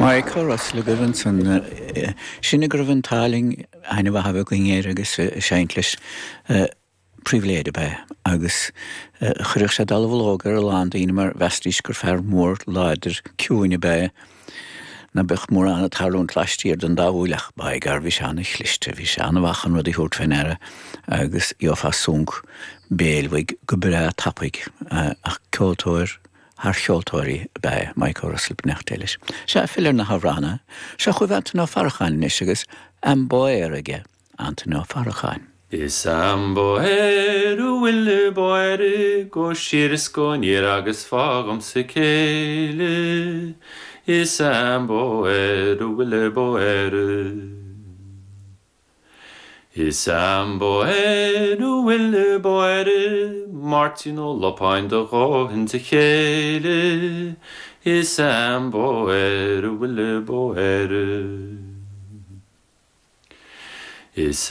Mike Ó Russell agaibh ansan. Sin go raibh an t-ádh linn aithne mhaith a bheith againn air agus ag seinnt leis. Pribhléid ab ea agus chuirfeadh sé dallamhullóg ar a lán daoine mar mheasfaidís gur fear mór láidir ciúin ab ea é ná beadh mórán ag tarlúint laistiar den dá shúil ach by gar bhí sé ana-chliste, bhí sé ana-mhaith chun rudaí a thabhairt fé ndeara agus gheofá sonc béil uaidh go breá tapaidh ach ceoltóir thar cheoltóirí ab ea é Mike Ó Russell, beannacht Dé leis. Sea, filleadh ar na hamhránaithe. Seo chugaibh Antaine Ó Faracháin anois agus Am Bóer aige. Antaine Ó Faracháin. Is ambaoir a bhfuil báire go siar is go aniar agus fág dhomsa céile Is ambaoir a bhfuil báire Is ambaoir a bhfuil báire Máirtín Ó Lupáin do dhóthain de chéile Is ambaoir a bhfuil báire Is.